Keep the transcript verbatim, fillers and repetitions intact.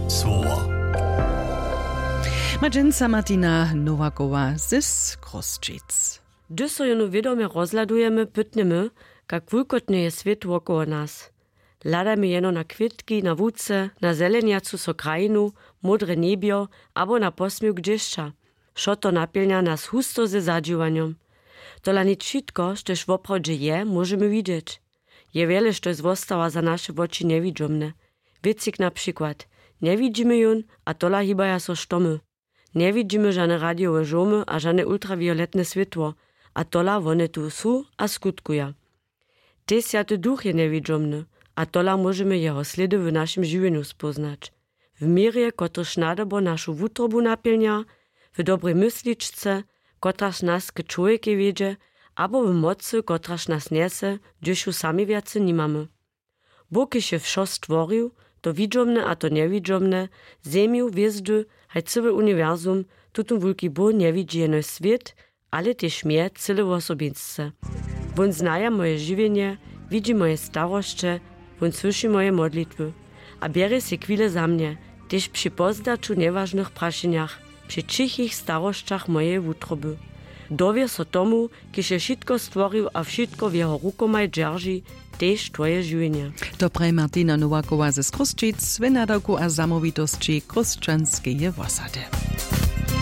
Słowo. Ma dźensa Martina Nowakowa z Chrósćic. Hdyž so jónu wědomje rozhladujemy, pytnjemy, kak wulkotny je swět wokoło nas. Hladamy jeno na kwětki, na wuce, na zelenjacu so krajinu, módre njebjo abo na posměwk dźěsća. Wšo to napjelnja nas husto ze zadźiwanjom. Tola nic wšitko, štož woprawdźe je, móžemy widźeć. Je wjele, štož zwostawa za naše woči njewidźomne. Wěcik na přikład. Njewidźimy jón, a tola hibaja so štomy. Njewidźimy žane radijowe žomy a žane ultrawioletne swětło, a tola wone tu su a skutkuja. Tež Swjaty Duch je njewidźomny, a tola móžemy jeho slědy w našim žiwjenju spóznać. W měrje, kotryž nadobo našu wutrobu napjelnja, w dobrej mysličce, kotraž nas k čłowjekej wjedźe, abo w mocy, kotraž nas njese, hdyž ju sami wjace nimamy. Bóh, kiž je wšo stworił, to widźomne a to njewidźomne, zemju, hwězdy, haj cyły uniwersum, tutón wulki Bóh njewidźi jenož swět, ale tež mje cyle wosobinsce. Wón znaja moje žiwjenje, widźi moje starosće, wón słyši moje modlitwy. A bjerje sej chwile za mnje, tež při pozdaću njewažnych prašenjach, při ćichich starosćach mojeje wutroby. Dowěr so tomu, kiž je wšitko stworił a wšitko w jeho rukomaj dźerži, tež twoje žiwjenje. To praji Martina Nowakowa ze Chrósćic w nadawku a zamołwitosći Chrósćanskeje wosady.